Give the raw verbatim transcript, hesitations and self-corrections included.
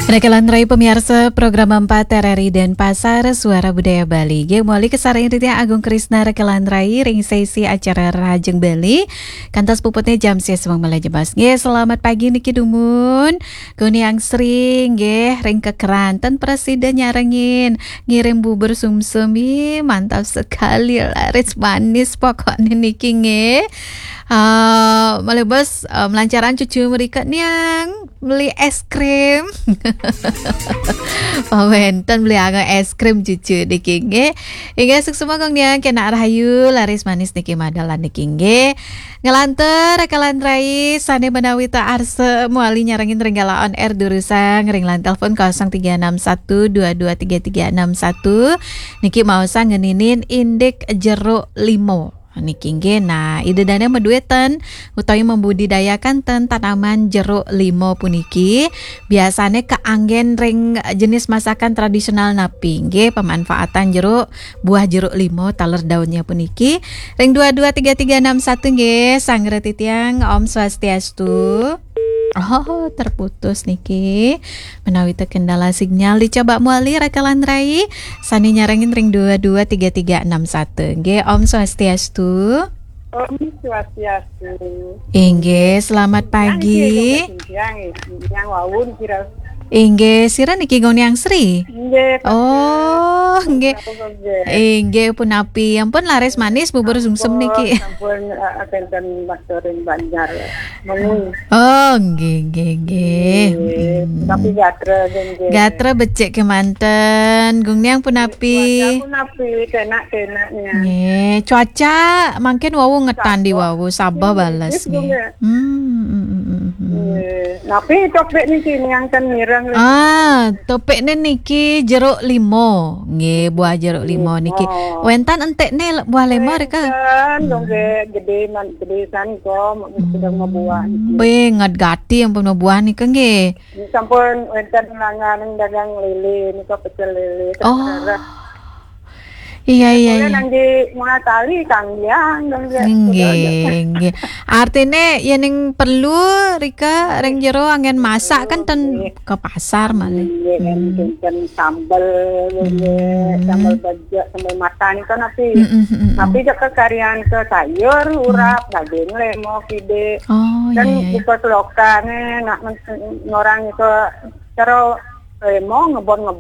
Rekan lantarai pamiarsa program empat R R I Denpasar, Suara Budaya Bali. Nggih, mawali kasarengin titiang Agung Krisna rekan lantarai ring sesi acara Rahajeng Bali. Kantos puputnya jam sesewang malih jebos. Nggih, selamat pagi niki dumun. Goniang Sri, nggih, ring Kekeran. Ten prasida nyarengin. Ngirim bubur sumsum, ih, mantap sekali, laris manis pokoknya niki, nggih. Ah, malih bos, ah, melancaran cucu mrika niang beli es krim. Pawenten beli angga es krim cucu niki, nggih. Inggih, suksma Gung Niang, kenak rahayu, laris manis niki madalan niki, nggih. Nglantur rekan lantarai sane menawi ta arsa mawali nyarengin ring galah on air durusang ring line telepon kosong tiga enam satu dua dua tiga tiga enam satu. Niki maosang ngeninin indik jeruk limo. Niki nggih, nah, ida dane maduetan utawi membudidayakan ten tanaman jeruk limo puniki biasane kaanggen ring jenis masakan tradisional napi nggih, pemanfaatan jeruk, buah jeruk limo taler daunnya puniki. Ring dua dua tiga tiga enam satu nggih, sanggra titiang, Om Swastiastu. Oh, terputus niki. Menawi terkendala sinyal, dicoba mawali rekan lantarai sane nyarengin ring dua dua tiga tiga enam satu. Nggih, Om Swastiastu. Om Swastiastu. Inggih, selamat pagi. Yang wau kira. Inggih, sira niki Gung Niang Sri? Nggih, Pak. Oh, nggih. Nggih. Inggih, punapi. Ampun laris manis bubur sumsum niki. Sampun, eh, kenten matur ring Banjar. Mengwi. Oh, nggih, nggih, nggih. Nggih, mm-mm. Tapi gatra, nggih. Gatra becik kemanten. Gung Niang punapi? Punapi, kenak-kenaknya. Nggih, cuaca mangkin wau ngetan di wau, sabeh bales nggih. Nggih. Hmm, hmm, hmm, hmm, hmm. Nggih. Napi topik niki niang ten mireng niki? Ah, topikne niki jeruk limo. Nggih, buah jeruk limo niki. Limo. Wenten entikne le-, buah limo rika? Wenten, hmm. Dong nggih, gede man-, gede san kok, sedang mabuah niki. Be, ngat gati ampun mabuah nika nggih. Sampun wenten langan dagang lele nika, pecel lele. Oh. Terus Iya, iya, iya. Nanggi munah tali kang yang, kang yang. Nggih, nggih. Artine yening perlu rika ring jero anggen masak kan ten ke pasar malih. Nggih, kan kinten sambel, nggih, sambel bejek, sambel matang kan napi. Mm, mm, mm, mm. Napi jaka karyan ke sayur, urap, daging, lemo, kide. Oh, iya, iya. Kan buka selokane, nak men-, ngorang itu cara lemo ngebon-ngebon.